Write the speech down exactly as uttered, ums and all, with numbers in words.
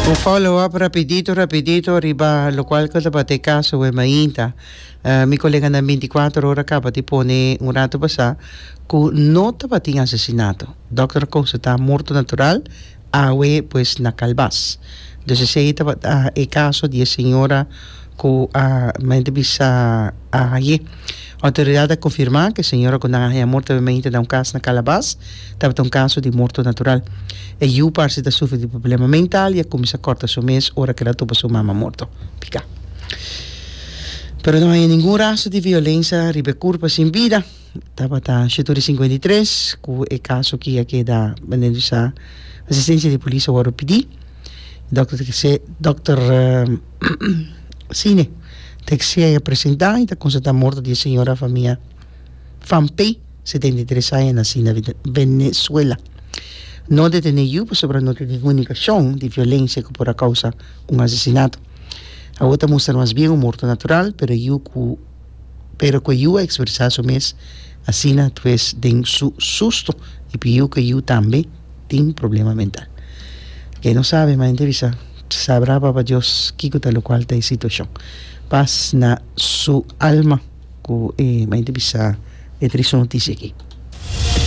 Un follow up rapidito, rapidito, riba locual cu tabata e caso awe mainta. Uh, mi colega na binticuater ora caba di pone un rato pasa cu no tabatin asesinato. Dokter a constata morto natural awe pues na Calbas. Dus esey tabata e caso di e señora cu a mente bisa a haye. Autoridad a confirma cu e señora cu nan a haya morto awe mainta na un cas na Calabas tabata un caso di morto natural. E yu parse ta sufri di problema mental y a cuminsa corta su mes ora cu el a topa su mama morto. Pica. Pero no haya ningun rastro di violencia riba e curpa sin bida. Tabata shetu di sinkuenta i tres ku e kaso ki a keda manera sa asistencia di polis a wòrdu pidi. Dòkter Texe dòkter Sine Texier a presentá i ta konstatá morto di e señora famia Van P, setenta i tres aña, nasí na Venezuela. No detené yu pasobra no tin ningun indikashon di violencia ku por a kousa un asesinato. Awor ta mustra mas bien un morto natural, pero yu ku Pero cu e yu a expresa su mes asina pues den su susto y pidiu cu e yu tambe tin problema mental. Ke no sabe ma hende bisa sabrá papa Dios kico ta locual ta e situacion. Paz na su alma cu e ma hende bisa e triste noticia aki.